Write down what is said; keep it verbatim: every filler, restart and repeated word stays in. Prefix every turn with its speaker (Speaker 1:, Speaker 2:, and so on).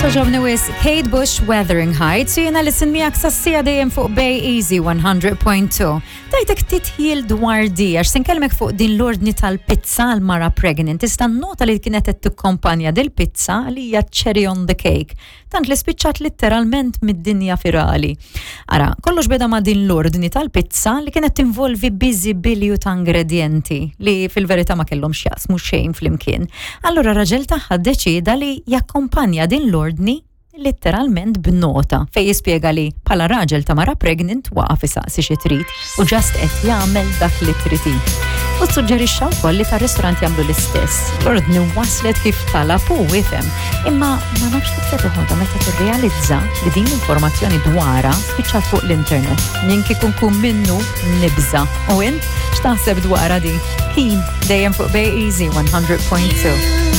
Speaker 1: Togħġobni wisq Kate Bush, Wuthering Heights, u jiena listen miegħek sas-siegħa dejjem fuq Bay Easy one hundred point two. Tajtek titħil dwar di, għax se nkellmek fuq din l-ordni tal-pizza għal mara pregnant. Tista' nota li kienet qed tikkompanja dil-pizza li hija cherry on the cake. Tant li spiċċat letteralment mid-dinja virali. Ara, kollox beda ma' din l-ordni tal-pizza li kienet tinvolvi biżibilju ta' ingredienti li fil-verità ma kellhom x'jaqsmu xejn flimkien. Allura raġel tagħha deċida li jakkompanja din l-ordni letteralment b'nota fej jispjega li bħala raġel ta' mara pregnant waqaf isaqsi xi trid u just qed jagħmel dak li trid. U suġġerixxa wkoll li tar-ristorant jagħmlu l-istess. L-ordni waslet kif talab u ifhem. Imma ma nafx kif se toħodha meta tirrealizza li din l-informazzjoni dwarha spiċċat fuq l-internet. Jien kieku nkun minnu nibża. U int x'taħseb dwarha di? Keen dejjem fuq Bay Easy one hundred point two.